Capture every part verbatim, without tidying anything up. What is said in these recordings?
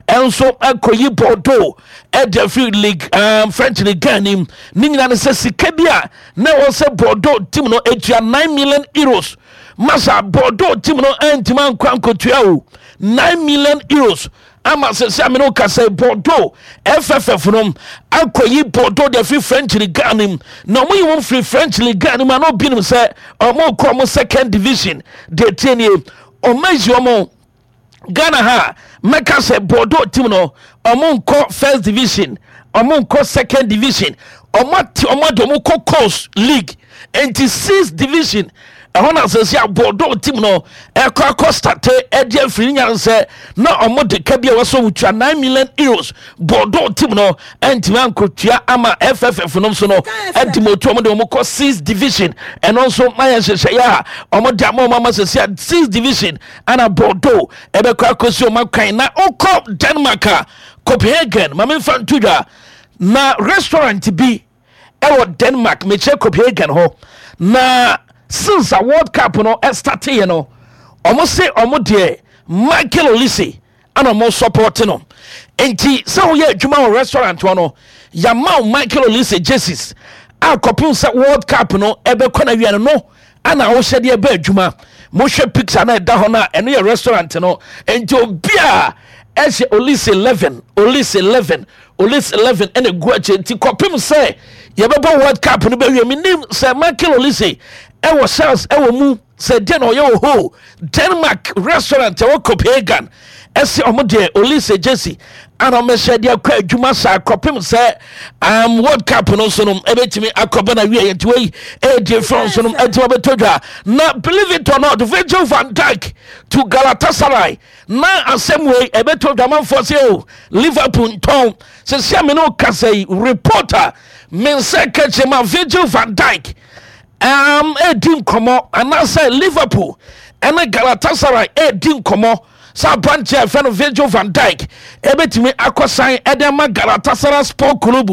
Ɛnso ɛkɔyi Bordeaux ɛde afiri league, um, French League anim. Ne nyinaa ne sɛ sika bi a na ɛwɔ sɛ Bordeaux team no atua nine million euros. Masa, Bordeaux team no ɛntumi ankɔ ankɔtua o, nine million euros. Ama sɛ sɛ amene woka sɛ Bordeaux F F F no akɔyi Bordeaux de afiri French League anim, na ɔmo yi wɔn firi French League anim a, na obi nim sɛ ɔmo kɔ ɔmo second division. Deɛ tie nie, ɔmo ayi ɔmo Ghana ha, mɛka sɛ Bordeaux team no, ɔmo nkɔ first division, ɔmo nkɔ second division, ɔmo ate ɔmo ade ɔmo kɔ coast league, nti sixth division ɛhɔ na sɛsi a Bordeaux team no ɛkɔ akɔ start ɛde afiri ne nyansɛ na ɔmo de ka bi a wɔsɔ ɔmo tua nine million euros. Bordeaux team no ɛntumi ankotua ama F F F no nso no ɛdi mo tu ɔmo de ɔmo kɔ sixth division. Ɛno nso mayɛ nhyehyɛeɛ a ɔmo de ama ɔmo ama sɛsi a sixth division ana Bordeaux ɛbɛkɔ akɔsi ɔmo akwan. Na ɔkɔ Denmark a, Copenhagen, maame nfa nto dwa na restaurant bi ɛwɔ Denmark, mekyerɛ Copenhagen hɔ, na since a World Cup no ɛstarteɛ no, ɔmo se ɔmo deɛ Michael Olise ana ɔmo support no. Nti sɛ woyɛ adwuma wɔ restaurant hɔ no, yɛama wo Michael Olise jerseys a kɔpem sɛ World Cup no ɛbɛkɔ no awia no no ana wohyɛ deɛ ɛbɛ adwuma. Mohwɛ picture na ɛda hɔ no a, ɛno yɛ restaurant no. Nti obi a ɛhyɛ Olise eleven, Olise eleven, Olise eleven ɛna egu akyi. Nti kɔpem sɛ yɛbɛbɔ World Cup no bɛwie, menim sɛ Michael Olise ɛwɔ chance ɛwɔ mu sɛ deɛ na ɔyɛ wɔ hɔ Denmark restaurant ɛwɔ Copenhagen, ɛsɛ ɔmo deɛ Olise jersey ana ɔmɛhyɛ deɛ akɔ adwuma saa kɔpem sɛ um, World Cup no nso no ɛbɛtumi akɔbɛ na wie. Nti wei ɛyɛ frɛ nso no ɛtumi abɛtɔ dwa. Na believe it or not, Virgil van Dijk to Galatasaray. Na asɛm wei ɛbɛtɔ dwa, manfoɔ sɛ o Liverpool ntɔn sɛ sia me ne wo kasa yi, reporter me nsa ka kyerɛ ma Virgil van Dijk um, ɛdi nkɔmmɔ anaasɛ Liverpool ɛne Galatasaray ɛdi nkɔmmɔ sɛ aberanteɛ a ɛfɛ no Virgil van Dijk ɛbɛtumi akɔsan ɛde ama Galatasaray Sport Club.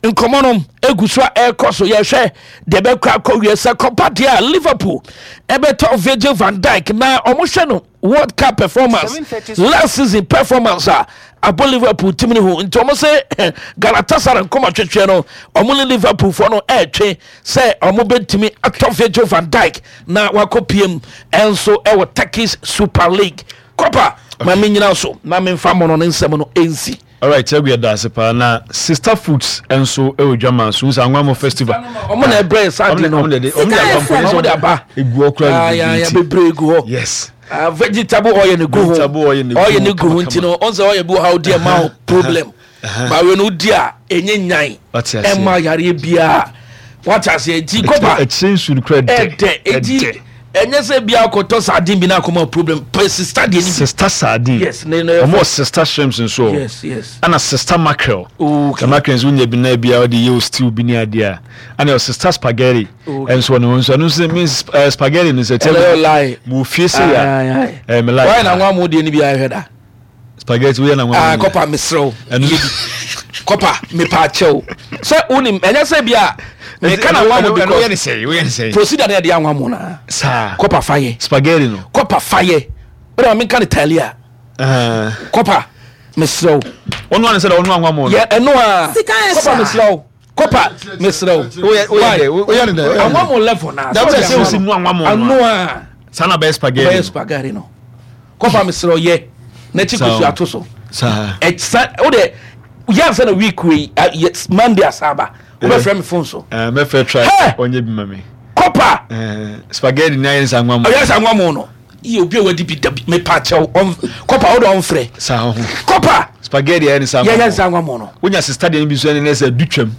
Nkɔmmɔ no egu so a ɛrekɔ so. Yɛhwɛ deɛ ɛbɛkɔ akɔ wie. Sɛ kɔpa deɛ a, Liverpool ɛbɛtɔ Virgil van Dijk na ɔmohwɛ no World Cup performance, last season performance a abɔ Liverpool team no ho. Nti ɔmo sɛ Galatasaray nkɔmɔ twetwe no, ɔmo ne Liverpool foɔ no ɛɛtwe sɛ ɔmo bɛtumi atɔ Virgil van Dijk na wakɔ piem ɛnso ɛwɔ Turkish Super League. Kɔpa ma me nyina so na memfa mmɔ no ne nsɛm no ɛnsi. Alright, ɛgu yɛ daase paa. Na Sister Foods nso ɛwɔ dwama so nsa Anwamo Festival. Ɔmo na ɛbrɛ saa de no. Ɔmo de ɔmo de aba mpo. Ɔmo de aba. Egu hɔ koraa. Ah, ya, ya, bebree gu hɔ. Yes. Ah, vegetable oil ne gu ho. Vegetable oil ne gu oil ne ho gu ho kama. Nti no ɔn sɛ oil bi wɔ ha, odi ɛma wo problem ba wei no, wodi a ɛnyɛ nyan. Wate aseɛ. Ɛma yareɛ biara, wate aseɛ? Nti kɔpa ɛkyerɛ nsu no koraa dɛ. Ɛdɛ, eti ɛnyɛ sɛ bia akɔtɔ sardine bi na akɔma problem. Pɛ Sister deɛ ni bi. Sister sardine. Yes, ne ne ɔmo wɔ Sister shrimps nso o. yes yes Ɛna Sister mackerel. Okay. The mackerel nso wonya bi na bia ɔde yɛ o stew bi ne adeɛ a, ɛna yɛ Sister spaghetti. Okay. Ɛnso ɔno nso ɛno nso means uh, spaghetti no sɛ ɛnɛ yɛ lie. Mo fie se ya ɛɛ me like. Wɔyɛ na nwa mu deɛ ni bi ahwɛ da. Spaghetti woyɛ na nwa Ah, mu. kɔpa, mesrɛw. Ɛno- Yɛ bi kɔpa, mepa akyɛw sɛ wonim ɛnyɛ sɛ bi a meka na nwa mu ɛno woyɛ ne because sɛ woyɛ ne sɛ procedure na yɛde anwa mu na saa. Kɔpa, fa yɛ. Spaghetti no. Kɔpa, fa yɛ. Wode ma menka ne talia. Ɛɛ Kɔpa, mesrɛw. Ɔno ano sɛ dɛ ɔno anwa mu no. Yɛ ɛno a. Sika yɛ Kɔpa, saa. mesrɛw. Kɔpa, mesrɛw. Woyɛ woyɛ dɛ Woyɛ ne dɛ, woyɛ ne dɛ. Anwa mu level na Dabi, sɛ wosi nu anwa mu no a. Ano a saa na bɛyɛ spaghetti bɛyɛ no. Spaghetti no, kɔpa, mesrɛw, yɛ n'akyi Saa o. kosua ato so. Saa. Ɛsa wode yɛ ansa na week wei a, yɛ- Monday asaba wobɛfrɛ me phone so. Ɛɛ mɛfɛ try. Hey! Ɔnyɛ bi ma me. Kɔpa. Ɛɛ spaghetti ni ayɛ nsa anwa mu. Ɔyɛ sɛ anwa mu no yɛ obi a wadi bi dabi, mepa kyɛw, ɔn- kɔpa, wode ɔmfrɛ. Saa ho. Kɔpa. Spaghetti ayɛ nsa anwa yɛyɛ mu. nsa anwa mu no. Wonya Sister deɛ no bi so ɛne ne sɛ du twam.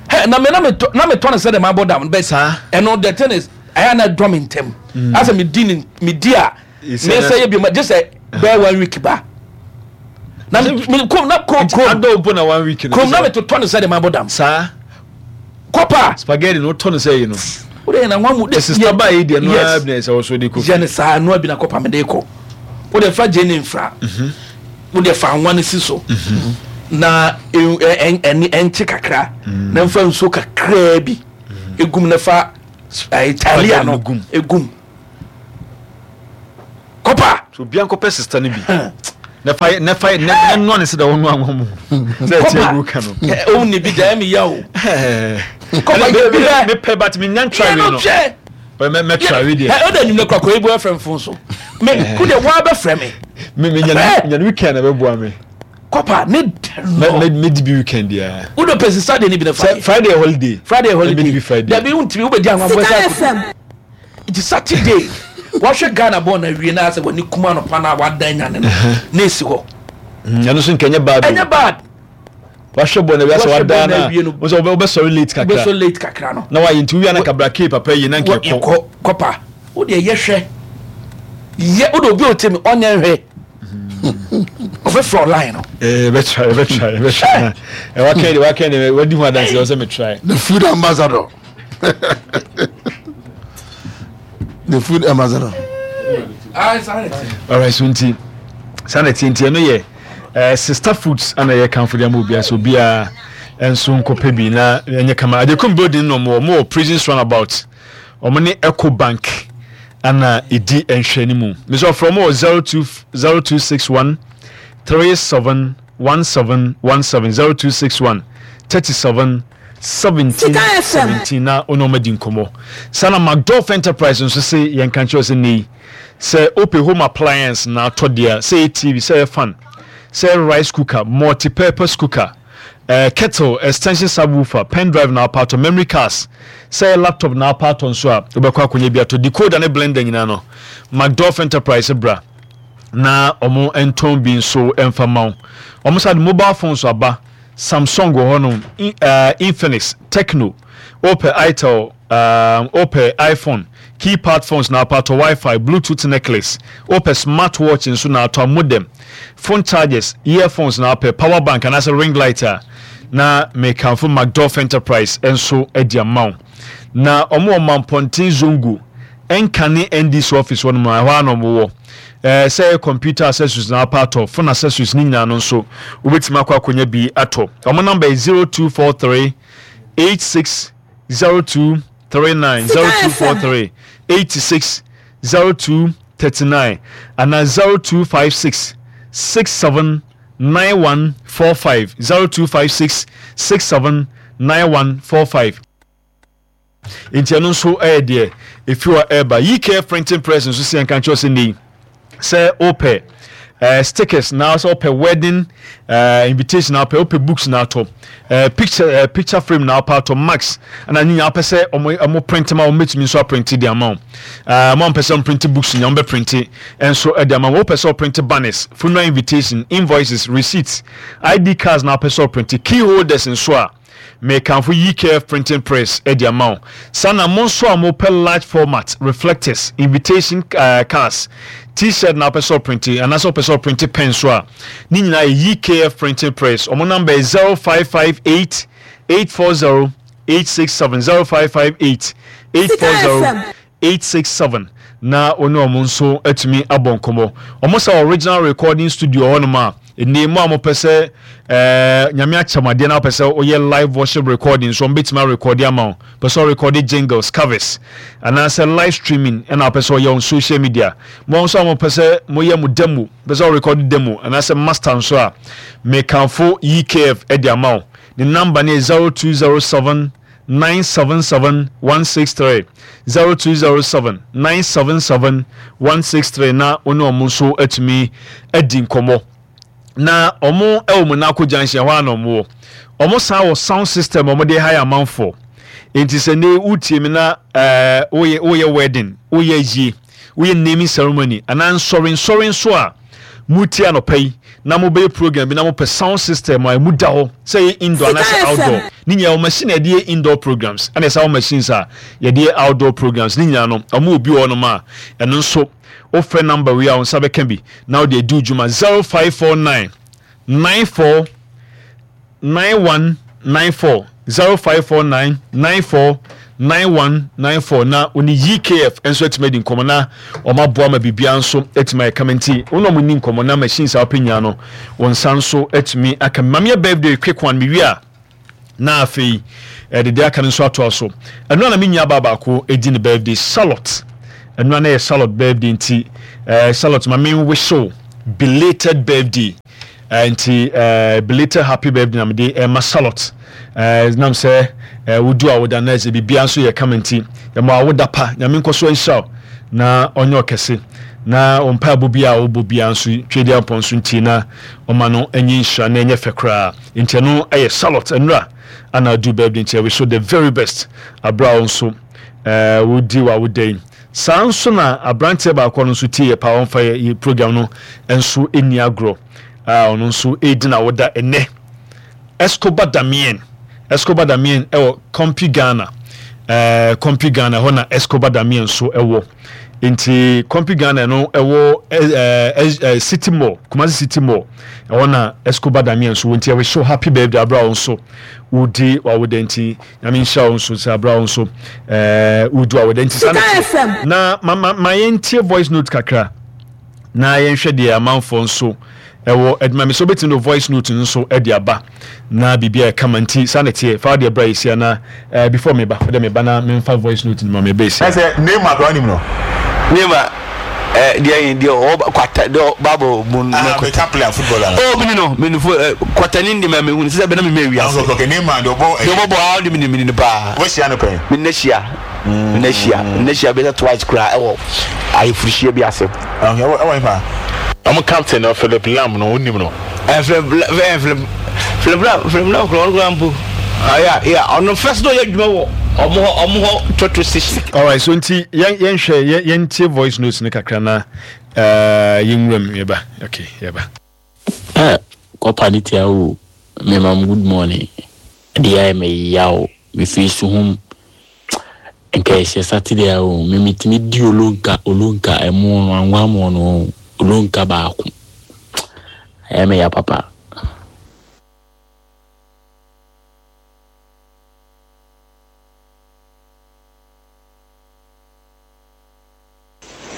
Hɛ, na me na metɔ na metɔ no sɛ de mabɔ dam bɛ. Saa. Ɛno, the thing is, ɛyɛ na ɛdɔ me ntɛm asɛ medi ne medi a Ɛsɛ me na- sɛ yɛ bi ma gye sɛ bɛyɛ one week ba na me me kom na kurom kurom Adɔ mpo na one week no. Kurom na metotɔ no sɛ de mabɔ dam. Saa. Kɔpa. Spaghetti no wotɔ no sɛ yi no. Wode yɛ na nwa mu. Sister ba yi deɛ no ara Yes. bi na ɛsɛ wɔso de kɔ. Yɛ ne saa noa bi na kɔpa mede kɔ. Wode fa gye ne mfra, wode fa anwa no si so na ɛ- ɛ- ɛ- ɛne ɛnkye kakra na mfa nsuo kakraa bi egum na fa ɛɛ talia no no gum. Egum, kɔpa. So obiara nkɔpɛ Sister no bi. Na fa na fa na noa ne sɛ da wɔn noa wɔn mu sɛ ɛti agu ka no. Ohun ni bi da ɛmi ya o. Kɔba yɛ bi dɛ mepɛ, but mi nya ntwa wi no. Mɛ mɛ try wi deɛ. Ɛ o de enyim kura kɔ ebu ɛfrɛ fon so mɛ ku de waa bɛ frɛ mi. Mi mi nya nya weekend na bɛ bua mi. Kɔpa ne dɛ no. Mɛ mɛ di bi weekend ya. O de pɛsi Saturday ni bi na fa. Friday holiday. Friday holiday. Mɛ di bi Friday. Dabi n timi o bɛ di àwọn abɔ ɛsɛ akɔ. Nti Saturday wɔhwɛ Ghana bɔɔl na wie na asɛ wɔne kuma no pa na wadan nyane no na esi hɔ. Ɛno nso nkɛnyɛ bad. Ɛnyɛ bad. Wahwɛ bɔɔl na wie asɛ wadan na wosɛ wobɛsɔre late kakra. Wobɛsɔre late kakra no. Na wayɛ nti wia na kabra kee papa yi na nkɛ kɔ. Kɔ kɔpa o deɛ yɛ hwɛ yɛ o de obi o te mi ɔnyɛ nhwɛ ɔbɛfrɛ line no. Ɛɛ bɛ try, bɛ try, bɛ try. Ɛ wakɛn de wakɛn de wadi ho adansi ɔsɛ mi try. The food ambassador. The food ambassador. Alright, so nti saa na ɛteɛ. Nti ɛno yɛ eh, Sister Foods ana yɛ kanfo de ama obiara sɛ obiara nso nkɔpɛ bi na ɛnyɛ kama. Adekum building no, ɔmo ɔmo wɔ Prisons Roundabout, ɔmo ne Eco Bank ana ɛdi nhwɛ no mu. Mesɛ ɔfrɛ ɔmo wɔ zero two zero two six one three seven one seven one seven, zero two six one thirty seven seventeen seventeen na ɔne ɔmo adi nkɔmmɔ. Saa na McDolph Enterprise nso se yɛnka nkyerɛ sɛ nei sɛ wopɛ home appliance na atɔ deɛ, sɛ ɛyɛ T V, sɛ ɛyɛ fan, sɛ ɛyɛ rice cooker, multi-purpose cooker, uh, kettle, extension subwoofer, pen drive na wopɛ atɔ, memory cards, sɛ ɛyɛ laptop na wopɛ atɔ nso a, wobɛkɔ akɔnya bi atɔ, decoder ne blender nyinaa no, McDolph Enterprise bra na ɔmo ntɔn bi nso mfa ma wo. Ɔmo sa de mobile phones aba. Samsung wɔ hɔnom, uh, Infinix, Tecno, wopɛ Itel, um, wopɛ iPhone, keypad phones na wopɛ atɔ, WiFi, Bluetooth necklace, wopɛ smartwatch nso na atɔ, modem, phone chargers, earphones na wopɛ, power bank anaasɛ ring light a, na mekamfo McDolph Enterprise nso adi ama wo. Na ɔmo wɔ Mampɔnten Zongo ɛnka ne N D C office hɔ nom a, ɛhɔ a na ɔmo wɔ. ɛɛ sɛ ɛyɛ computer accessories na wapɛ atɔ, phone accessories ne nyinaa no nso, wobɛtumi akɔ akɔnya bi atɔ. Ɔmo number yɛ zero two four three eight six zero two three nine, zero two four three eighty six zero two thirty nine, ana zero two five six six seven nine one four five, zero two five six six seven nine one four five. Nti ɛno nso ɛyɛ deɛ efi hɔ ɛreba. Yi K F Printing Press nso si ɛnka nkyɛn sɛ nei sɛ wopɛ uh, stickers na sɛ wopɛ wedding uh, invitation na wopɛ wopɛ books na atɔ, uh, picture uh, picture frame na wopɛ atɔ, max ɛna ne nyinaa wopɛ sɛ ɔmo ɔmo print ma, ɔmo bɛtumi nso aprint de ama wo. uh, mo ampɛ sɛ ɔmo print books nyinaa, ɔmo bɛ print nso ɛde ama wo. Wopɛ sɛ ɔprint banners, funeral invitation, invoices, receipts, I D cards na wopɛ sɛ ɔprint, key holders nso a, mekamfo E K F Printing Press de ama wo. Saa na mo nso a mopɛ large format reflectors, invitation uh, cards, T-shirt na wopɛ sɛ ɔprint, anaasɛ wopɛ sɛ ɔprint pen so a, ne nyinaa yɛ E K F Printing Press. Ɔmo number yɛ zero five five eight eight four zero eight six seven, zero five five eight eight four zero eight six seven, na wɔne ɔmo nso atumi abɔ nkɔmmɔ. Ɔmo sɛ original recording studio hɔnom a ɛnɛ mu a mopɛ sɛ ɛɛ Nyame akyɛmadeɛ na wopɛ sɛ woyɛ live worship recording nso, ɔmo bɛtumi arecord ama wo. Pɛ sɛ ɔrecord jingles, covers, anaasɛ live streaming ɛna wopɛ sɛ ɔyɛ on social media, mo nso a mopɛ sɛ moyɛ mo demo, pɛ sɛ ɔrecord demo anaasɛ master nso a, mekamfo E K F ɛde ama wo. Ne number ne yɛ zero two zero seven nine seven seven one six three, zero two zero seven nine seven seven one six three, na wo ne ɔmo nso atumi adi nkɔmmɔ. Na ɔmo ɛwɔ Monaco Junction hɔ a na ɔmo wɔ. Ɔmo san wɔ sound system ɔmo de hire amanfoɔ. Nti sɛ ne wotie mi na ɛɛ woyɛ woyɛ wedding, woyɛ yie, woyɛ naming ceremony anaa nsɔre nsɔre nso a mutie anɔpa yi na mobɛyɛ program bi na mopɛ sound system a emu da hɔ, sɛ yɛ indoor anaasɛ outdoor, ne nyinaa wɔ machine a yɛde yɛ indoor programs ɛna ɛsɛ wɔ machines a yɛde yɛ outdoor programs ne nyinaa no, ɔmo wɔ bi wɔ hɔnom a ɛno nso wofrɛ number wei a, wo nsa bɛka bi na wode adi wo dwuma: zero five four nine nine four nine one nine four, zero five four nine nine four nine one nine four, na oni E K F nso atumi adi nkɔmmɔ na ɔmo aboa ma biribiara nso atumi ayɛ kama. Nti wɔn a wɔn ni nkɔmmɔ na machines a wɔpɛ nyinaa no, wɔn nsa nso atumi aka. Maame yɛ birthday quick one mewie a, na afei ɛde deɛ aka no nso atoa so. Ɛno a na me nua baa baako edi ne birthday, Charlotte. Ɛno a na yɛ Charlotte birthday. Nti ɛɛ Charlotte, ma me wish wo Belated birthday. Uh, nti uh, belated happy birthday na mede ɛma Charlotte. uh, nam sɛ uh, wodu a woda na ɛsɛ biribia nso yɛ kama, nti yɛma awoda pa. Nyame nkɔ so nhyira wo na ɔnyɛ ɔkɛse na ɔmpaebɔ bi a wobɔ bia nso Twɛdi Ampɔ nso ntie na ɔma no ɛnyɛ nhyira na ɛnyɛ fɛ koraa. Nti ɛno ɛyɛ Charlotte, ɛnura ana adu birthday, nti ɛwish the very best aberɛ a wo nso uh, wodi w'awoda yi. Saa nso na aberanteɛ baako no nso tie yɛ paa, ɔmfa yɛ yɛ program no nso ɛni agorɔ a ɔno nso ɛredi n'awoda ɛnɛ, Escobar Damien. Escobar Damien ɛwɔ Compu Ghana, ɛɛ Compu Ghana hɔ na Escobar Damien nso ɛwɔ. Nti Compu Ghana no ɛwɔ ɛɛ ɛɛ City Mall, Kumasi City Mall, ɛhɔ na Escobar Damien nso wɔ. Nti ɛwɔ so happy birthday abira wɔn nso wodi w'awoda. Nti Nyame nhyira wɔn nso sɛ abira wɔn nso ɛɛ wodi w'awoda. Nti saa na F M. Na ma ma ma yɛntie voice note kakra na yɛnhwɛ deɛ amanfoɔ nso ɛwɔ adwuma mi so. Wobɛtumi de voice note nso ɛde aba na biribi a ɛkama. Nti saa na teɛ, fa deɛ bra yɛsia na uh, before meba wode meba na memfa voice note no ma meba yɛsia. Ɛsɛ Neymar kora nim no. Neymar ɛ deɛ yin deɛ ɔwɔ kwata deɛ baabo mu no. Ah, better player, footballer. O mi ni no mi ni fo ɛ kwata ni ndi ma mi hu sisan bɛ na mi mɛ wiase. Okay okay Neymar deɛ ɔbɔ. Deɛ ɔbɔ bɔ awo de mi ni mi ni paa. Wɔhyia no pɛn? Mi ne hyia, mi ne hyia, mi ne hyia bɛ sɛ twice kura ɛwɔ ayefuruhyia bi ase. Okay, ɛwɔ ɛwɔ nipa. Ɔmo captain no, Philip Lam no, wonim no? Ɛ Philip ɛ Philip Philip Lam, Philip Lam kura ɔno kura mpo aya ya ɔno first na ɔyɛ adwuma wɔ ɔmo hɔ ɔmo hɔ petrol station. Alright, so nti yɛn yɛnhwɛ yɛn yɛntie voice notes no kakra na uh, yɛnwura mu yɛba. Okay, yɛba. Eh, kɔpa ne tia o, mema mo good morning. Adeɛ ayɛ me yaw, mefiri Suhum. Nka ɛhyɛ Saturday a o, me metumi di olonka olonka ɛmo no anwa mo no olonka baako. Ɛyɛ me ya papa.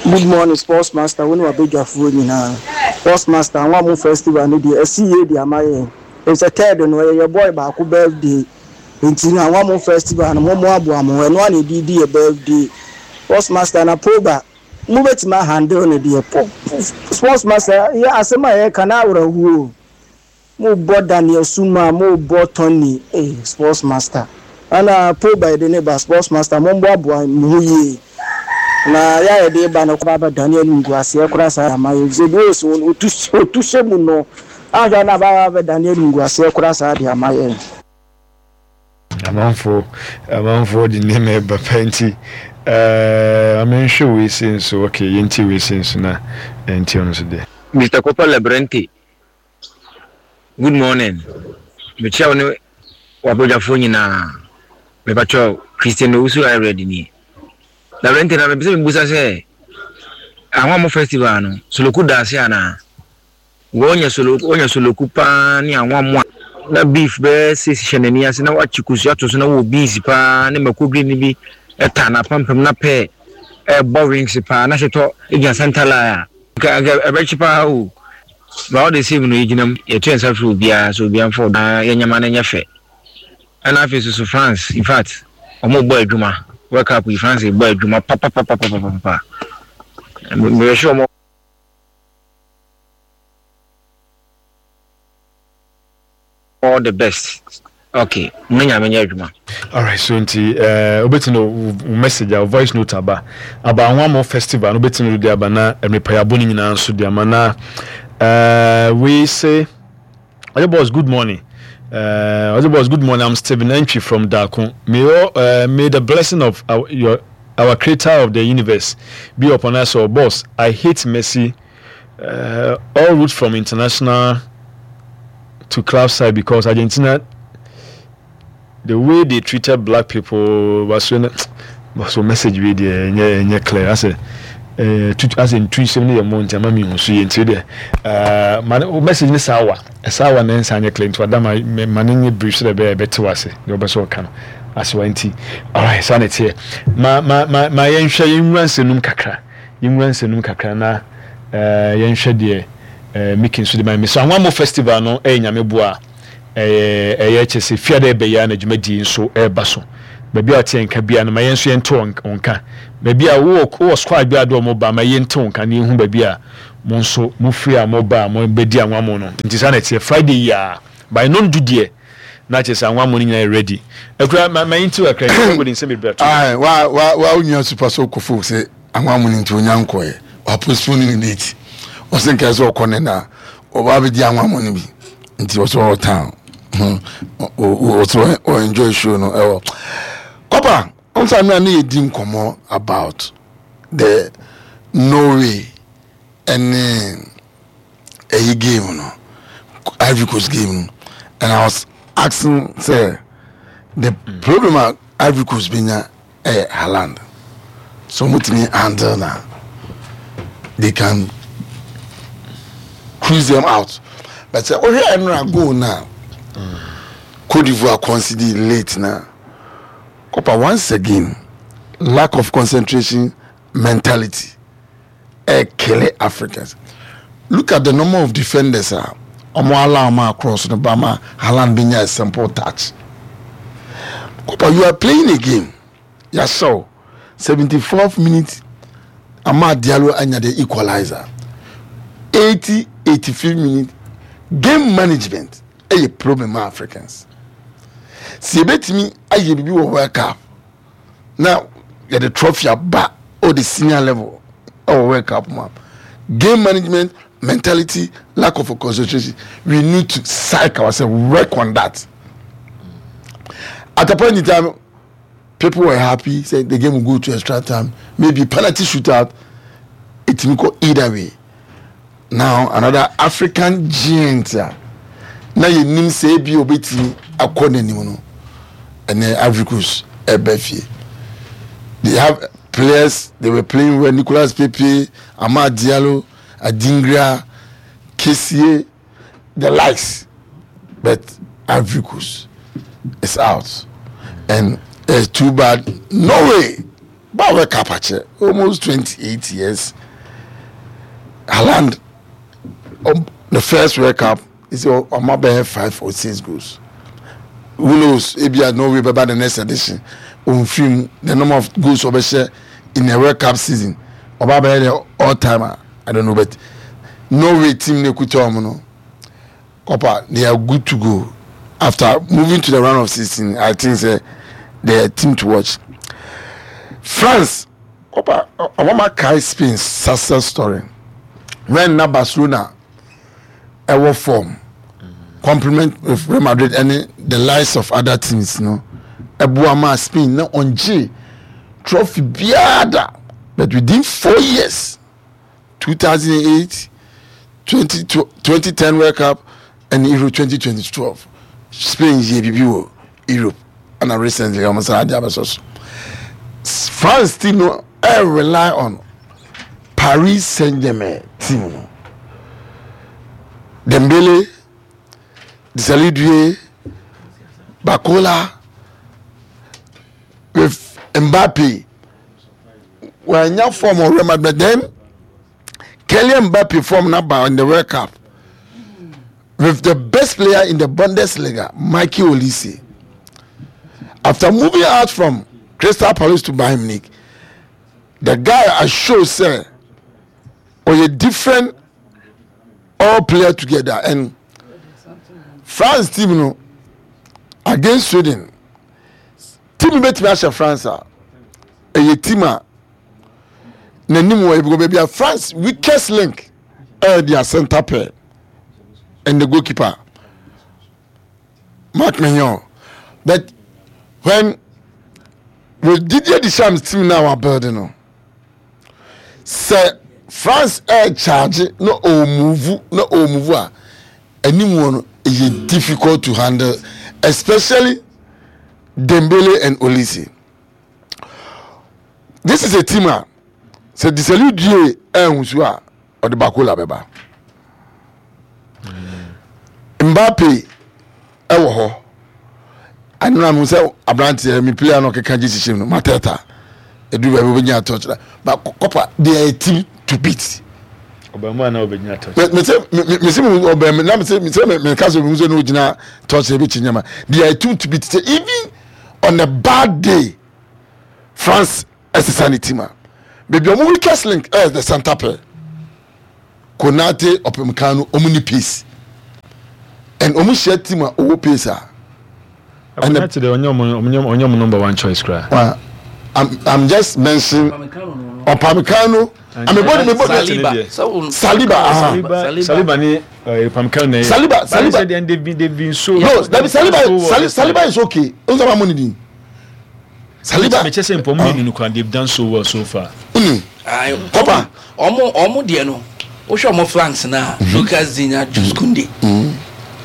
Good morning, Sports Master. Wo ne wabadwafoɔ nyinaa. Sports Master, Anwa Festival no deɛ ɛsi yie de ama yɛn. Ɛsɛ third no ɛyɛ yɛ boy baako birthday. Nti no Anwa Festival no mo mo aboa mo ɛno a na ɛde di yɛ birthday. Sports Master, na Pogba mo bɛtumi ahandle no deɛ. Po, po, Sports Master, yɛ asɛm a yɛka na awerɛhoɔ. Mo bɔ Daniel Suma, mo bɔ Tony, eh, Sports Master. Ana Pogba yɛde ne ba. Sports Master, mo mboaboa mo ho yie na yɛ a yɛde ba no ba ba Daniel nguaseɛ koraa saa ama yɛ sɛ bi osi otu otu hyɛ mu no ahwɛ na ba ba Daniel nguaseɛ koraa saa de ama yɛ. Amanfoɔ amanfoɔ de nneɛma ɛba pɛ, nti ɛɛ amenhwɛ wei se nso. Okay, yɛntie wei se nso na ɛntie ɔno nso deɛ. Mister Copper Lebrente, good morning. Mekyia wo ne wabɔdwafoɔ nyinaa. Mepakyɛw, Christian Owusu Ayred nie. Lebrente, na mepɛ sɛ mebusa sɛ Ahwamo Festival no, Soloku da ase anaa? Wɔnya soloku, wɔnya soloku paa ne anwammo a na beef bɛyɛ six hyɛ n'ani ase na wakye kosua to so na wɔ beans paa ne mako green bi ɛta n'apampam na pɛɛ ɛbɔ wings paa na hyetɔ gyina center line a nka nka ɛbɛkye paa o. But all the same no, yɛgyina mu, yɛto yɛn nsa firi obiara sɛ obiara mfa ɔdɔ yɛ nyɛma no nyɛ fɛ. Ɛna afei soso France, in fact, ɔmo bɔ adwuma. World Cup yi, France bɔ adwuma papapapapapa. Mehwɛ ɔmo all the best. Okay, mo Nyame nyɛ adwuma. Alright, so nti uh, wobɛtumi no message a voice note aba aba Anwammo Festival no, wobɛtumi no de aba na mmerepayabɔ no nyinaa nso de ama na uh, we say Oye boss, good morning. Uh, Oye boss, good morning. I'm Stephen Entry from Dako. May, all, uh, may the blessing of our, your, our creator of the universe be upon us all. Boss, I hate Messi. Uh, all route from international to club side because Argentina, the way they treated black people was so so message wey deɛ ɛnyɛ ɛnyɛ clear asɛ ɛɛ tutu asɛ ntu nsɛm ne yɛ mo nti ama mi hu so yɛ. Nti deɛ ɛɛ ma ne message ne saa wa ɛsaa wa ne nsa nyɛ clear, nti wada ma ma ne nye brief so dɛ ɛbɛyɛ ɛbɛte wa ase deɛ ɔbɛ so ɔka no ase wa. Nti alright, saa na ɛteɛ. ma ma ma ma yɛnhwɛ, yɛnwura nsɛnum kakra, yɛnwura nsɛnum kakra na ɛɛ yɛnhwɛ deɛ ɛɛ Mickey nso de ma mi so. Anwammo Festival no ɛyɛ Nyame boa ɛyɛ ɛyɛ kyɛ sɛ fiada ɛbɛyɛ na dwumadie nso ɛreba so. Baabi a ɔte nka bia no, ma yɛn nso yɛnte wɔn nka. Baabi a wowɔ wowɔ squad bi a de wɔn ba, ma yɛnte wɔn nka na yɛhu baabi a Mo nso mo firi a mo ba a mo bɛdi anwammo no. Nti saa na ɛteɛ Friday yi a by nondu deɛ na kyerɛ sɛ anwammo no nyinaa yɛ ready. Akura ma ma yɛnti akra yi sɛ wode nsɛm bebree ato. Aye, wa wa wa onua super so kofo sɛ anwammo no nti onya nkɔɛ. Wa postpone ne date. Ɔsɛ nka sɛ ɔkɔ ne na ɔba abɛdi anwammo no bi. Nti ɔsɛ ɔwɔ town. Ɔsɛ ɔ enjoy show no ɛwɔ. Kɔpa, ɔnsa mi a ne yɛ di nkɔmɔ about the Norway ɛne ɛyi game no, Ivory Coast game no, and I was asking sɛ the problem a Ivory Coast benya ɛyɛ Haaland, so ɔmo tumi handle na they can cruise them out, but sɛ ɔhwɛ ɛnora goal na Cote d'Ivoire concede late na Kopa, once again lack of concentration, mentality ɛ kill Africans. Look at the number of defenders a ɔmo allow ɔmo across no ba ma Haaland benya a simple touch. Kopa, you are playing a game, yahyɛw seventy fourth minute, Amad Diallo anya the equalizer, eighty eighty fifth minute. Game management ɛyɛ problem ma Africans. Si ebetumi ayɛ bibi wɔ World Cup na yɛde trophy aba o the senior level ɛwɔ World Cup mu a, game management, mentality, lack of concentration, we need to psych ourselves, work on that. At a point in time, people were happy, say the game will go to extra time, maybe penalty shootout. It will go either way. Now another African giant a na yɛnim sɛ ebi obetumi akɔ n'anim no, ɛnɛ Ivory Coast ɛbɛ fie. They have players, they were playing well: Nicolas Pepe, Amad Diallo, Adingra, Kessie, the likes, but Ivory Coast is out and it's too bad. Norway ba World Cup akyɛ, almost twenty-eight years. Haaland, um, the first World Cup is ɔmo abɛyɛ five or six goals. Who knows, ebia Norway bɛba the next edition onfim the number of goals ɔbɛhyɛ in a World Cup season, ɔba bɛyɛ the all timer, I don't know. But Norway team ne kuta ɔmo no, Kopa, they are good to go after moving to the round of sixteen. I think say they are a team to watch. France, Kopa, ɔmo ma kai Spain success story when na Barcelona ɛwɔ form, complement with Real Madrid ɛne the likes of other teams no, ɛboa ma Spain na ɔngye trophy biara da. But within four years, two thousand and eight, twenty twenty ten World Cup and Euro twenty twelve, Spain yɛ bibi wɔ Europe, ɛna recently ɔmo san adi abɛsɔ so. France team no ɛ rely on Paris Saint Germain team no, Dembele, Désiré Doué, Barcola with Mbappe. Wɔanya form wɔ Real Madrid, but then Kylian Mbappe form naba in the World Cup with the best player in the Bundesliga, Michael Olise. After moving out from Crystal Palace to Bayern Munich, the guy I show say ɔyɛ different, all player together. And France team no against Sweden, team bɛtumi ahyɛ France a ɛyɛ team a n'anim wɔ ebi baabi a France weakest link ɛyɛ their center pair and the goalkeeper, Mike Maignan. But when with Didier Deschamps team now are building no, sɛ France ɛ charge na ɔ move na ɔ move a, anim wɔ no ɛyɛ difficult to handle, especially Dembele and Olise. This is a team a sɛ Désiré Doué ɛnhu so a, ɔde Barcola bɛba, Mbappe ɛwɔ hɔ. Anura mi sɛ aberanteɛ mi player no ɔkeka gye hyehyɛ mu no, Mateta edu baabi obɛnya touch na, but Kopa, they are a team to beat. Ɔbɛn mu a na ɔbɛgyina touch. Me me sɛ me me sɛ mu ɔbɛn mi na me sɛ me sɛ me me ka sɛ obi sɛ no gyina touch ebi kyi nyɛma. They are a team to beat. Sɛ even on a bad day, France ɛsesa ne team a, baabi ɔmo weakest link ɛyɛ the center pair. Konate, Upamecano, ɔmo ni pace and ɔmo hyia team a ɔwɔ pace a. Konate de, ɔnyɛ ɔmo ɔnyɛ ɔmo number one choice kura. Well, I'm, I'm just mentioning Upamecano. I mean, body, body, Saliba. Saliba, uh-huh. Saliba, Saliba ni uh, Upamecano na. Saliba, Saliba. And they've been they've been so. No, that Saliba, so well Saliba, this time. Saliba is okay. Nsaba mo ni din. Saliba. Mekyɛ sɛ mpɔmu mmienu no kora, they've done so well so far. Mm. Kɔpa ɔmo ɔmo deɛ no, wohwɛ ɔmo flanks na Lucas Digne, Jules Kounde,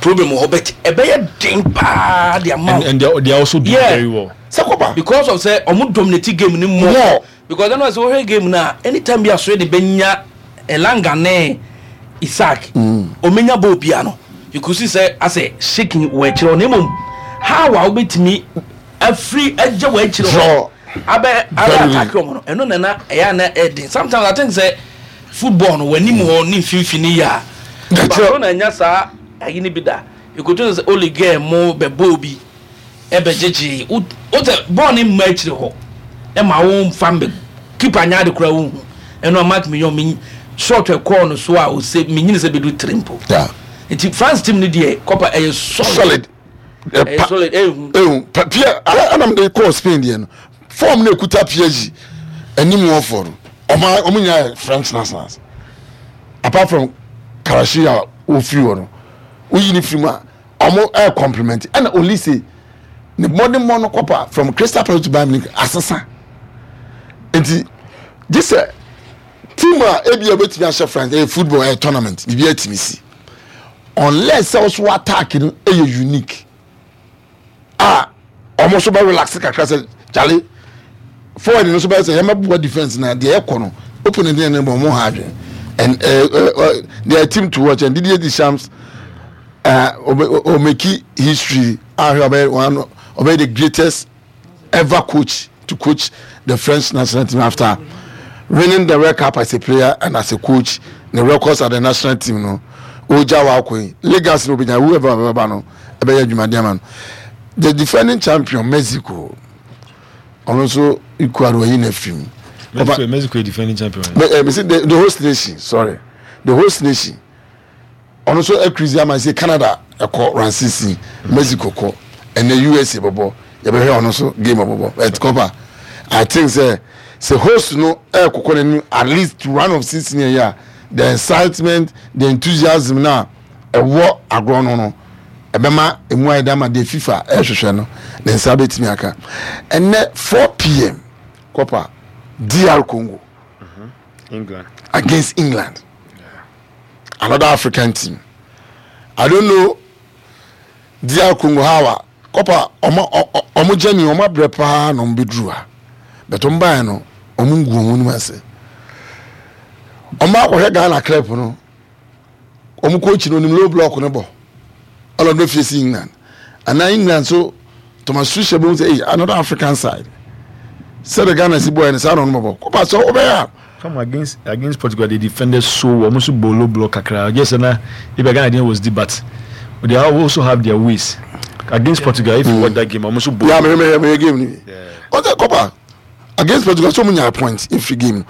problem wɔ hɔ, but ɛbɛyɛ den paa de ama And, and they are, they are also doing Yeah. very well. Sɛ kɔpa. Because of sɛ ɔmo dominate game ni more. More. Because ɛno sɛ wohwɛ game na anytime bi asoɛ de bɛnya Elanga ne Isaac, ɔmenya ball bia no, you could see sɛ asɛ shaking wɔ akyerɛ hɔ, na mmom how a wobɛtumi afiri agya wɔ akyerɛ hɔ Draw. abɛ abɛ Very attack ɔmo no, ɛno nana ɛyɛ ana ɛden. Sometimes I think sɛ football no, w'anim hɔ ne mfimfini yɛ a That's Barcelona nya saa ayi ne bi da ekoto sɛ Oleguer mo bɛ ball bi ɛbɛgyegye wo sɛ bɔɔl ne mma akyire hɔ, ɛma wo nfa mbɛ keeper nya ade kora wo hu. Ɛno a Marc Maignan mi shot ɛkɔɔ no so a ose menyini sɛ bɛdu three mpo. Yeah. Nti France team no deɛ, kɔpa, ɛyɛ solid. Solid. Ɛyɛ solid, ɛyɛ hu. Pierre anam de kɔɔ Spain deɛ no, form na ekuta P S G anim wɔ fɔ no, ɔmo ɔmo nyinaa yɛ French nationals apart from Karashi a ofiri hɔ no. Oyi ne firi mu a, ɔmo ɛyɛ compliment. Ɛna Olise ne mmɔden no kɔpa from Crystal Palace to Bayern Munich asesa. Nti gye sɛ team a ebi a obetumi ahyɛ France, ɛyɛ football, ɛyɛ tournament, biribi atumi si, unless sɛ ɔso attack no ɛyɛ unique a ɔmo nso bɛ relax kakra sɛ kyale forward no nso bɛ sɛ yɛn bɛ bɔ defence na deɛ ɛkɔ no opponent yɛn no bɔ ɔmo ha adwene. And uh, uh, they are team to watch, and Didier Deschamps uh, ɔmake history ahwɛ, ɔbɛ one, ɔbɛ the greatest ever coach to coach the French national team after winning the World Cup as a player and as a coach. The records at the national team no, ogya wa akɔ yi legacy no, obinya whoever ɔbɛba no ɛbɛyɛ adwumaden ama no. The defending champion Mexico, ɔno nso Ecuador yi na fim. Mexico, Mexico defending champion. But, uh, the, the host nation, sorry, the host nation, ɔno nso akirizi ama sɛ Canada ɛkɔ round sixteen, Mexico kɔ, ɛnɛ U S A bɔbɔ, yɛbɛhwɛ ɔno nso game ɔbɔbɔ. But kɔpa, I think sɛ sɛ host no ɛɛkɔkɔ n'anim at least to round of sixteen yɛ a, the excitement, the enthusiasm na ɛwɔ agorɔ no no ɛbɛma emu ayɛ dama. Deɛ FIFA ɛrehwehwɛ no, ne nsa bɛtumi aka. Ɛnɛ four p m kɔpa, D R Congo England. Against England, another African team. I don't know D R Congo how a kɔpa ɔmo ɔmo gyani, ɔmo abrɛ paa na ɔmo bɛduru ha, but ɔmo baeɛ no, ɔmo ngu ɔmo anim ase. Ɔmo akɔhwɛ Ghana club no, ɔmo coach no onim low block no bɔ, ɔlɔ no face England ana England so Thomas Tuchel bɛ sɛ, hey, another African side, sɛde Ghana si bɔ yɛ no saa na ɔno bɔbɔ kɔpa sɛ ɔbɛyɛ a. Come against against Portugal, they defended so well. Almost bolo block kakra. Yes, and if Ghana didn't was the but they also have their ways against Portugal. If you watch that game, almost bolo. Yeah, me me me game ni. Ɔsɛ kɔpa against Portugal so mo nya point every game.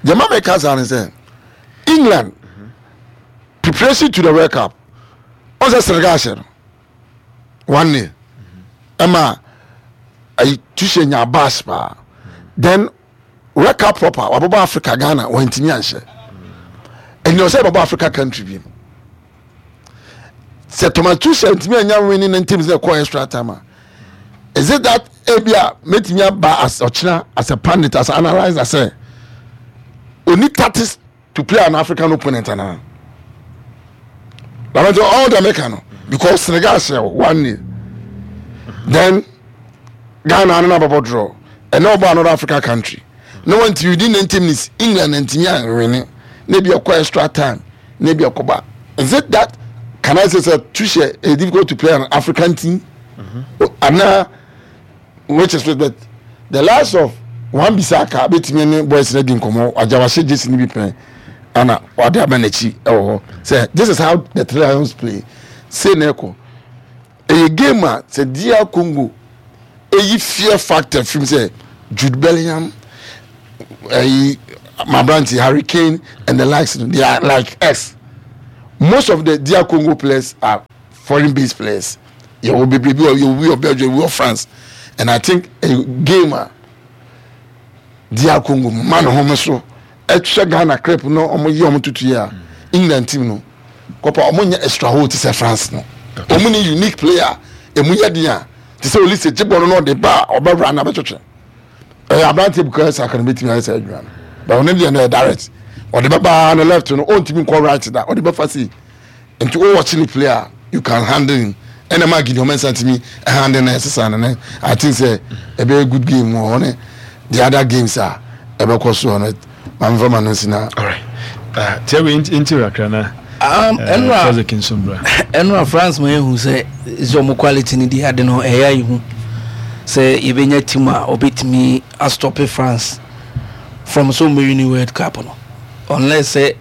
Jama mi ka saa ni sɛ England preparation to the World Cup, ɔsɛ Senegal hyɛ no one nil, ɛma ayi Tuchel nya bash paa. Then World Cup proper wabɔbɔ Africa, Ghana wɔntumi anhyɛ. Ɛnni ɔsɛ bɔbɔ Africa country bi sɛ Thomas Tuchel ntumi anya winning ne team sɛ kɔ extra time a, is it that ebi a metumi aba as ɔkyena as a pundit, as an analyzer, sɛ oni tactics to play an African opponent ana lamɛnti all the America no, because Senegal hyɛ one nil, then Ghana ano na bɔbɔ draw, ɛnna ɔbɔ another African country na wɔn ti within ninety minutes England ntumi anwene na ebi ɛkɔ extra time na ebi ɛkɔ ba. Is it that, can I say say Tuchel is difficult to play an African team ana, which is, but the last of Wan Bissaka betumi ne boys na di nkɔmɔ agya wahyɛ jersey ni bi pɛn ana wade aba n'akyi ɛwɔ hɔ sɛ this is how the Three Lions play. Say na ɛkɔ ɛyɛ game a sɛ D R Congo eyi fear factor fim sɛ Jude Bellingham, ɛyi Mabranti, Harry Kane and the likes, they are like us. Most of the D R Congo players are foreign based players. You will be you will be of Belgium, you will of France. And I think a gamer D R Congo man home so extra Ghana crepe no omo yi omo tutu ya England team no. Kopa omo nya extra hole to say France no. Omo ni unique player emu ye dia to say Olise jibo no de ba obewra na betwetwe. Eh abrante buka saka no betimi ayɛ sɛ adwuma no. But on the direct or the baba on the left no on team call right that or the baba see into all watching the player you can handle him. And the man give you to me handle and I think say a very good game on it. The other games are ever cost on it. I'm from Anusina. All right. Uh tell me into Akrana. Um Enra Enra France man who say is your quality in the I don't know eh you say you be team a obetimi a stop France from so many World Cup no. Unless say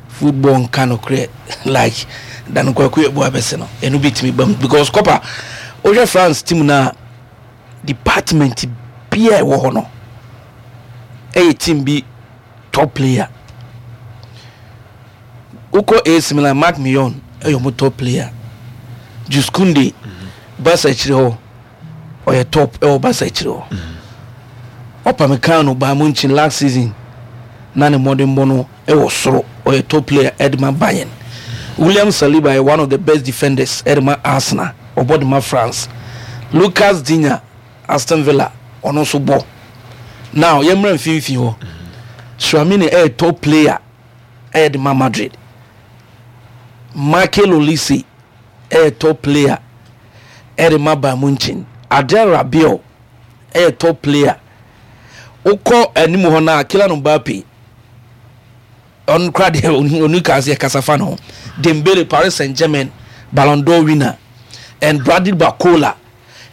football can create like dan kwaku ebo abese no enu bitimi bam because Copa oje France team na department bia e wo ho no e team bi top player uko A C Milan Marc Millon e yo mo top player Jules Koundé Barca chire ho oye top e o Barca chire ho Upamecano Bayern Munich last season na ne modern bono e wo soro oye top player Edman Bayern William Saliba is one of the best defenders Edman Arsenal obodima France Lucas Digne Aston Villa ono so bo now yemra mfimfi ho Tchouameni e top player Edman Madrid Michael Olise e top player Edman Bayern Munich Adel Rabiot e top player Oko animu ho na Kylian Mbappe on crowd onu kan se kasafa no Dembele Paris Saint-Germain Ballon d'Or winner and Bradley Barcola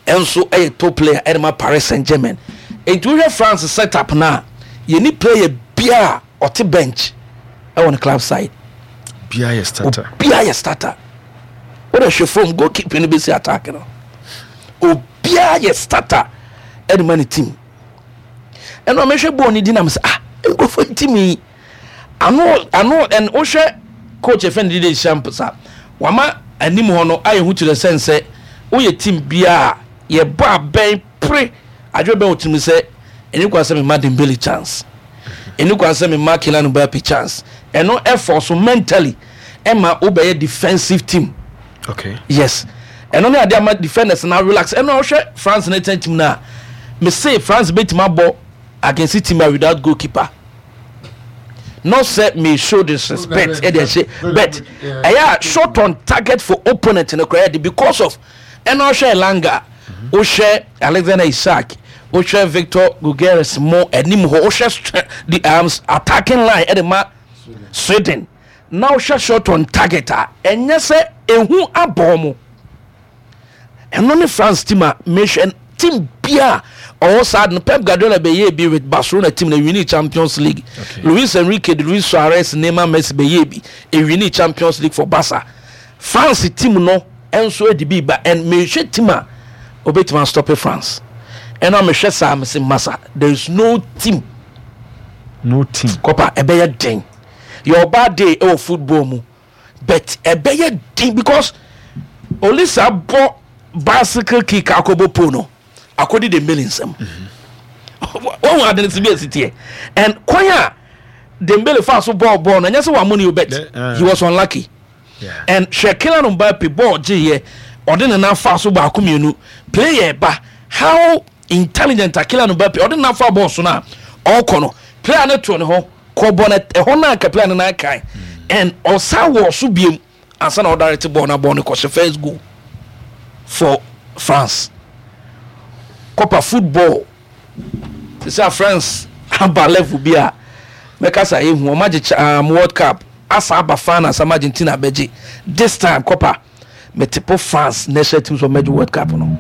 enso e top player Edma Paris Saint-Germain enti we France set up na ye ni player bia ote bench e on club side bia ye starter bia ye starter what a she from goalkeeper ni be see attack no o bia ye starter Edma ni team and no me hwe ball ni di na me say ah go for team yi ano ano and ohwe coach F N D D champ sa wama anim ho no aye hu to the sense say wo ye team bia ye ba ben pre adwe ben otimi say eni kwa say me ma Dembele chance eni kwa say me ma Kylian Mbappe chance and no effort so mentally e ma obey defensive team. Okay, yes, and only ade ma defenders now relax and no ohwe France na team na me say France betima bo against team without goalkeeper. Not say me show disrespect, but yeah, short on target for opponent in the crowd because of and Osha Elanga, Osha Alexander Isak, Osha Victor Gugueres more and Osha the arms attacking line at the Sweden. Now Osha short on target and yes, a who abomo and only France team mission team beer. All sudden, Pep Guardiola be be with Barcelona team the winning Champions League. Okay. Luis Enrique, Luis Suarez, Neymar, Messi be be a winning Champions League for Barca. France team no and so the be but and me team obey to stop France. And I'm a say massa. There is no team. No team. Copa a better thing. Your bad day oh football mu, but a better thing because Olisa bought bicycle kick akobo pono. According to the millions, one one didn't see it here, and Kwanya Dembele fast ball ball, and yes, one money you bet uh, he was unlucky. Yeah. And Kylian Mbappe ball G here, or didn't enough fast ball come player, but how intelligent Kylian Mbappe or didn't enough ball so now all corner player not to on ho bonnet a hona player na kai and also was be and son of direct ball na ball because first goal for France. Copa football say France aba level bia meka say ehu o magye um, World Cup asa aba fan as Argentina beje this time Copa metipo France national teams for major World Cup no.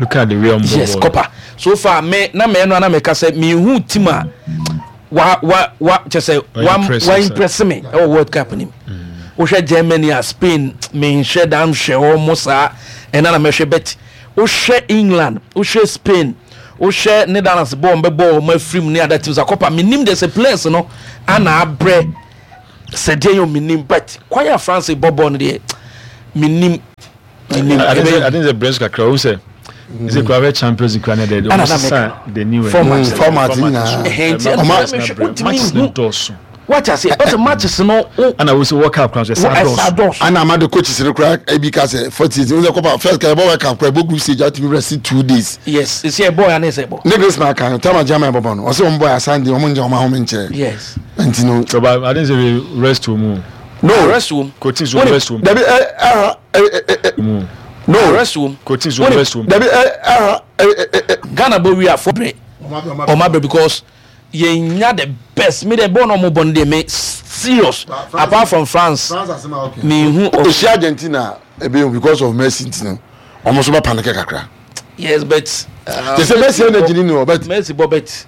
Look at the real yes Copa so far me na me no na meka say me hu team a wa wa wa che say wa wa impress me e World Cup ni wo hwe Germany a Spain me hwe dam hwe o mo sa e na na me hwe bet wo hwe England, wo hwe Spain, Wohwɛ Netherlands bɔɔl mbɛbɔ ɔmo afiri mu ne other teams akɔpa, menim de sɛ players no ana abrɛ sɛ deɛ yɛ, menim, but kwan a France bɔ bɔɔl no deɛ, menim, menim. I think I think the brains kakra o sɛ sɛ kura bɛ Champions League kura ne de ɔmo sisan the new format. Format nyinaa. Ɔmo matches ne dɔɔso. Wati ase, ɔsɛ matches no. Ana wo sɛ World Cup kura so ɛsa dɔɔso. Ana ama de coaches no kura ebi ka sɛ forty eight n sɛ kɔpa first ka ɛbɔ World Cup kura ɛbɔ group stage, atumi rest two days. Yes, esi ɛbɔ ya ne sɛ ɛbɔ. Ne Grace na kan tama German bɔbɔ no, ɔsɛ wɔn bɔ asan de wɔn nyɛ wɔn ahome nkyɛn. Yes. Nti no. But I think say rest wɔ mu. No. Rest wɔ mu. Coaches wɔ rest wɔ mu. Dabi, ɛ ɛ ɛ ɛ no. Rest wɔ mu. Coaches wɔ rest wɔ mu. Dabi, ɛ ɛ ɛ ɛ. Ghana bɔ wi afɔ brɛ, ɔmo abrɛ because yɛn nya the best. Mi de bɔɔl na ɔmo bɔ no deɛ, me serious, apart from France, mi hu. Osi Argentina ebe because of Messi nti no, ɔmo nso bɛ panic kakra. Yes, but. Te sɛ Messi energy ni o, but. Messi bɔ, but.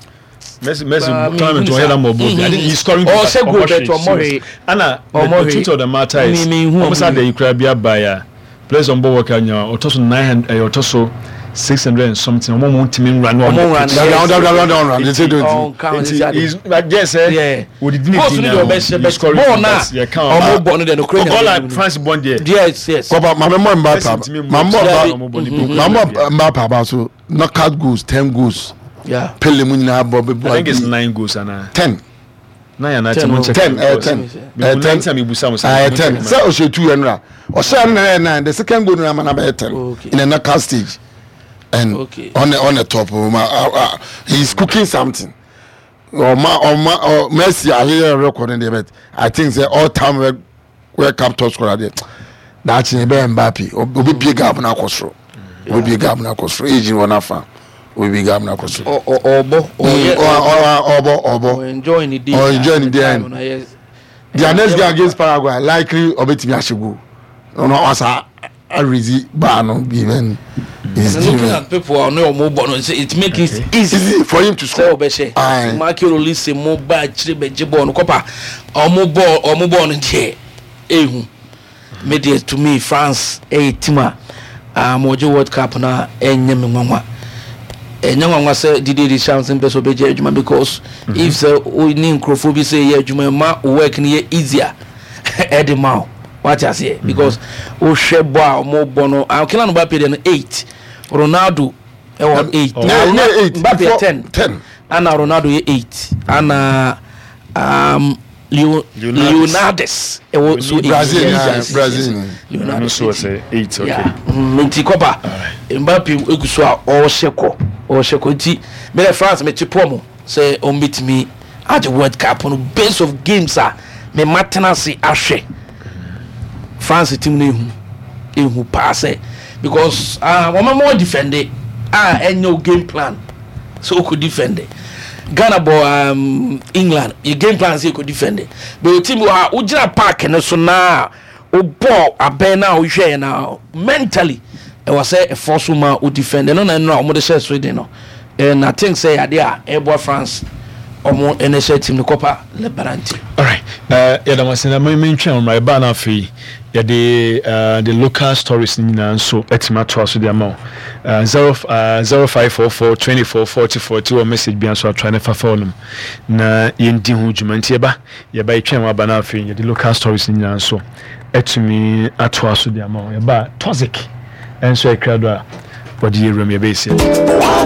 Messi Messi tournament wɔn yɛ dɛ mɔ bɔ, I think he's scoring. Ɔ ṣe goal, but ɔmɔ hwee. Ana the truth of the matter is, ɔmo sá de ikura bi aba ya, players on bɔ work anya ɔtɔ so nine hundred, ɛyɛ ɔtɔ so six hundred and something, ɔmo mo ntumi nra no. Ɔmo nra no, down down down down run they say don't. Nti he's like, yes, ɛ odidi ne di na he's scoring bɔɔl na ɔmo bɔ no deɛ no kure. Ɔla France bɔ deɛ. yes yes. Kɔba maame mɔ Mbappe, maame mɔ maame mɔ Mbappe aba so knockout goals, ten goals. Yeah. Pele mu nyinaa bɔ bɛ bɔ. I think it's nine goals ana. Ten. Nine ana ti mo check. Ten, ɛ ten, ɛ ten, ɛ ten, sɛ ɔhyɛ two yɛn nura ɔhyɛ no na yɛ nine, the second goal nura ma na bɛ ten in the knockout stage and okay. on the on the top ma uh, uh, he is cooking something. Ɔma ɔma ɔ Messi ahyehyɛ record ne deɛ, but I think say all time World Cup top scorer deɛ, daakye bɛyɛ Mbappe. Obi bie gap na akɔ soro, obi bie gap na akɔ soro, age wɔ n'afa, obi bie gap na akɔ soro. Ɔbɔ. Ɔbɔ, ɔbɔ. Enjoy ni day. Enjoy ni day end. Their next game against Paraguay, likely ɔbɛtumi ahyɛ goal ɔno ɔsa arezi baa no bi then. He's looking at people a ɔno ɔmo bɔ no, it make it easy easy for him to score. Sɛ ɔbɛhyɛ Michael Olise mo ba akyire bɛgye bɔɔl no kɔpa, ɔmo bɔɔl ɔmo bɔɔl no deɛ ehu me deɛ. To me, France ɛyɛ team a um, wɔgye World Cup na ɛnyɛ me nwanwa, ɛnyɛ nwanwa sɛ Didier Deschamps mpɛ sɛ ɔbɛgye adwuma because mm -hmm. if sɛ o ne nkurɔfoɔ bi sɛ ɛyɛ adwuma ma work no yɛ easier ɛde ma o, wate aseɛ, because wohwɛ bɔ a ɔmo bɔ no, Kylian Mbappe deɛ no eight, Ronaldo ɛwɔ eight. Mbappe yɛ ten ten. Ana Ronaldo yɛ eight, ana um, Leo Leonardes ɛwɔ so eight. Brazil, Brazil. Leonardo so sɛ eight, okay. Nti kɔpa Mbappe egu so a ɔrehyɛ kɔ, ɔrehyɛ kɔ, nti mɛrɛ France mɛ ti pɔ mo sɛ ɔmo betumi agye World Cup no base of games a mɛ ma tena ase ahwɛ France team no. Ehu ehu paa sɛ because ah wɔn mo defend a ɛnyɛ o game plan sɛ o kò defend. Ghana bɔ um, England, yɛ game plan sɛ yɛ kò defend, but o team wɔ ha, o gyina park ne so naa o bɔ abɛn na o hwɛ yɛ na mentally ɛwɔ sɛ ɛfɔ so ma o defend ɛno na ɛno a wɔn de hyɛ Sweden no, and I think sɛ yadeɛ a ɛboa France ɔmo ɛna hyɛ team no kɔpa lebarante. Alright, uh, yɛda mo ase na mentwɛn ɔmmra ɛbaa no. Afei yɛde uh, the local stories no nyinaa nso atumi atoa so de ama wo. uh, zero, uh, zero five four four twenty-four forty forty wɔ message bia nso atoa ne fafa nom na yɛndi ho dwuma. Nti yɛba yɛba yɛtwɛn wɔ aba no, afei yɛde local stories no nyinaa nso atumi atoa so de ama wo. Yɛba toxic ɛnso ɛkra do a wɔde yɛwuram yɛbɛyɛsi.